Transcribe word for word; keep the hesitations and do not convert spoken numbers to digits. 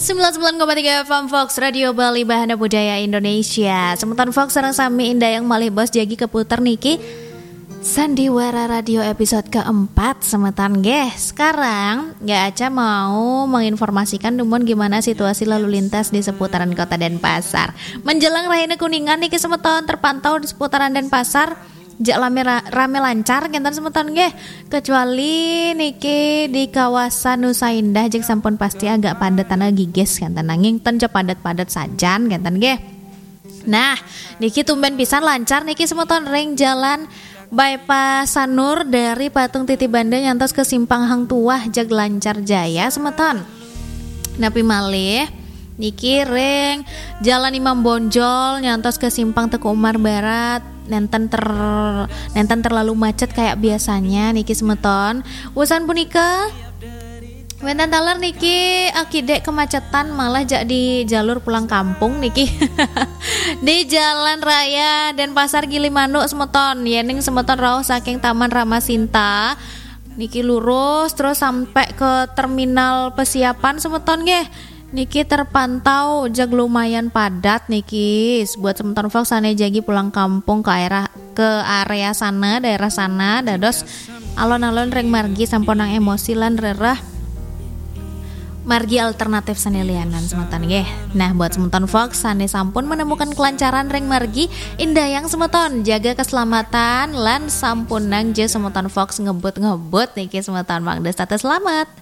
Sembilan sembilan koma tiga F M Fox Radio Bali, Bahana Budaya Indonesia. Semeton Fox sareng sami Indayang malih bos jagi keputer niki Sandiwara Radio episode keempat, semeton nggih. Sekarang nggak aja mau menginformasikan dumun gimana situasi lalu lintas di seputaran Kota Denpasar. Menjelang Rahina Kuningan niki semeton terpantau di seputaran Denpasar. Jak rame, rame lancar kenten semeton nggih. Kecuali niki di kawasan Nusa Indah, jak sampun pasti agak padet tanah gigis kenten, nanging ten ja padet-padet sajan kenten nggih. Nah, niki tumben pisan lancar niki semeton ring jalan Bypass Sanur dari Patung Titi Banda nyantos ke Simpang Hang Tuah, jag lancar jaya semeton. Napi malih niki ring Jalan Imam Bonjol nyantos ke Simpang Teuku Umar Barat nenten ter nenten terlalu macet kayak biasanya niki semeton. Usan punika wenten taler niki akidek kemacetan malah jak di jalur pulang kampung niki. Di Jalan Raya Denpasar Gilimanuk semeton, yening semeton rauh saking Taman Ramasinta niki lurus terus sampai ke terminal Pesiapan semeton nggih. Niki terpantau jag lumayan padat niki. Buat semeton Fox sane jagi pulang kampung ke area ke area sana, daerah sana, dados alon-alon ring margi sampunang emosi lan rereh margi alternatif sane lianan semeton nggih. Nah, buat semeton Fox sane sampun menemukan kelancaran ring margi, indayang semeton jaga keselamatan lan sampunang ja semeton Fox ngebut-ngebut niki semeton, mangda tetep selamat.